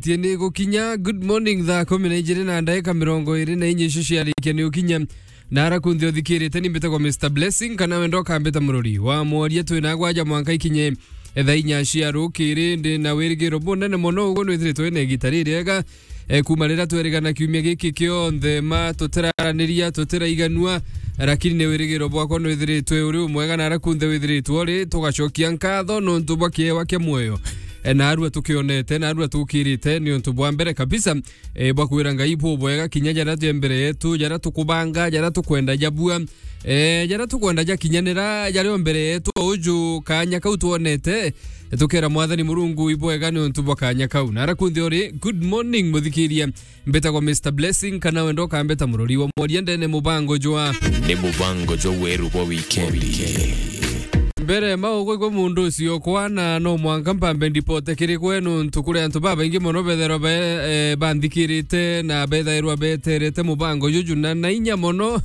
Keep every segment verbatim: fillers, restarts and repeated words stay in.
Tie ni gukinya. Good morning, thaa kumi na ijiri na ndaika mirongo iri na inya icio ciarikia ni gukinya. Na ara kunthe uthikirite, ni mbitagwa Mister Blessing, kana wenda ukambita murori wa mworia. Twi na gwaja mwanka ikinye thaa inya cia rukiri. Ndi na wirigiro bunene mono uguo nwithiritwe wina igita ririega. E, kuma riria twerigana kiumia giki kionthe, ma tutiraraniria, tutiraiganua, lakini ni wirigiro bwakwa nwithiritwe uri umwega na ara kunthe withiritwe uri, tugacokia nkatho nontu bwa kiewa kia muoyo. E, na arua tukionete, na arua tukirite, ni untu bwa mbere kabisa, e, bwa kwira Ngai bubwega, kinya jaria je mbere yetu, jaria tukubanga, jaria tukwenda jabua, e, jaria tukwenda jakinyanira, jaria o mbere yetu uju, kanya kau twonete, tukera Mwathani Murungu ibwega ni untu bwa kanya kau. Na ara kunthe uri, good morning, muthikiria. Mbitagwa Mister Blessing, kana wenda ukambita murori wa mworia ndene mubango jwa. Ni mubango jwa weru bwa wikendi. Mbere maugo igwe mundu ucio kwana, no mwanka mpambe ndipote kiri gwe, nontu kuri antu babaingi mono betherwa be, eh, banthikirite na bethairwa beterete mubango juju na, na inya mono.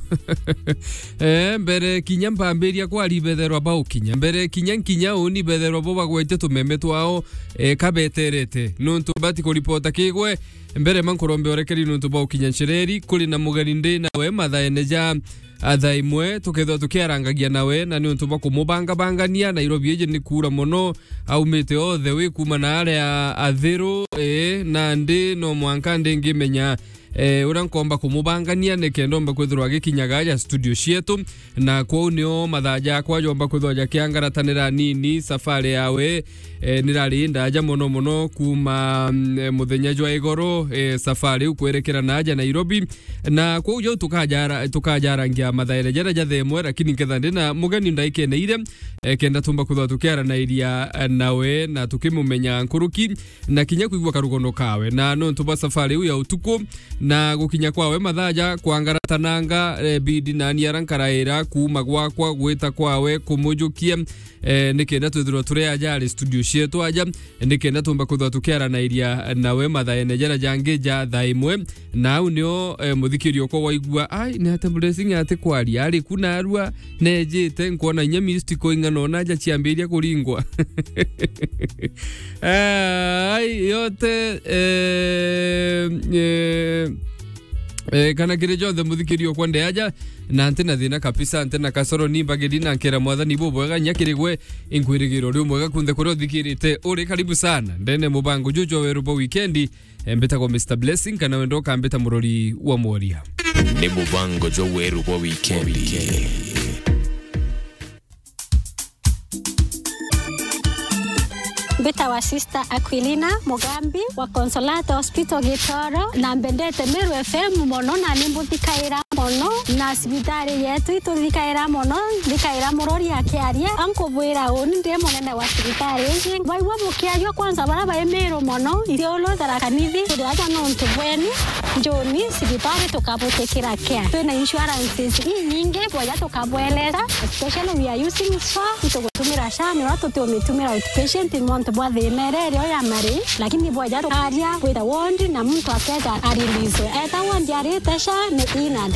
Eh, mbere kinya mpambiria kwari betherwa baukinya. Mbere kinya nkinya uni betherwa bo bagwete tumeme twao, eh, kabeterete. Nontu bati kuripota kigwe, mbere ma nkurombe orekeri nontu bwa ukinya ncireri, kuri na mugeni ndi nawe mathaene ja, a, thaa imwe, tukethirwa tukiarangagia nawe, na ni untu bwa kumubangabangania. Nairobi iji ni kuura mono, aumite othe wi kuma na aria athiru, ii, nandi no mwanka ndingimenya, eh, uria nkomba kumubangania nikenda omba kwithirwa agikinyaga aja studio cietu, na kwou nio mathaa jakwa jomba kwithirwa jakiangaratanira nini. Safari yawe, eh, nirari ndaja mono mono kuma, mm, eh, muthenya jwa igoro, eh, safari iu kwerekera na aja Nairobi. Na kwou jau tukajara-, tukajarangia mathaere jaria ja thaa imwe, lakini nketha ndi na mugeni ndaikene iria, eh, kenda tumba kwithirwa tukiaranairia, eh, nawe na tukimumenya nkuruki, na kinya kwigua karugono kawe. Na nontu bwa safari iu ya utuku, na gukinya kwawe mathaa ja kwangaratananga, eh, bidi nani ara nkaraira kuma gwakwa gwita kwawe kumujukia, eh, nikenda twithirwa turi aja ari studio cietu aja, nikenda tumba kwithirwa tukiaranairia nawe mathaene jaria jangi ja thaa imwe. Na au nio, eh, muthikiria okwa waigua, ai, ni ate Blessing ati kwaria, ari ku narua, nejite, nkwona inya missed call ing'ana ona aja ciambiria kuringwa. Ai, yote, eh, eh, eh, kana kiri jonthe muthikiria okwa nde aja, na nti na thina kabisa, nti na kasoro, ni mbagiri na nkera Mwathani bubwega, nya kiri gwe inkwirigiro ri umwega kunthe kuria uthikirite uri. Karibu sana ndene mubango juju wa weru bwa wikendi. Eh, mbitagwa Mister Blessing, kana wenda ukambita murori wa mworia. Ni mubango jwa weru bwa wikendi. Mbitagwa Sister Aquilina Mugambi wa Consolata Hospital Gitoro, na mbendete Meru F M mono, na ni mbuthikaira mono, na cibitari yetu ituthikaira mono, nthikaira murori akiaria, ankubwira uni ndi munene wa cibitari iji. Baigua bukiaria kwanza bara bai Meru mono, ithiulu Tharaka Nithi, turi aja nontu bweni, njuni cibitari tukabutikira care. Twina insurances inyingi, bwaja tukabweleza, especially we are using SHA, itugutumira SHA, ni uria tutiumitumira outpatient nontu bwa thina iria irio ya mari, lakini bwaja tukaria kwita ward na muntu akeja arelease. Eta ward arite SHA ni in and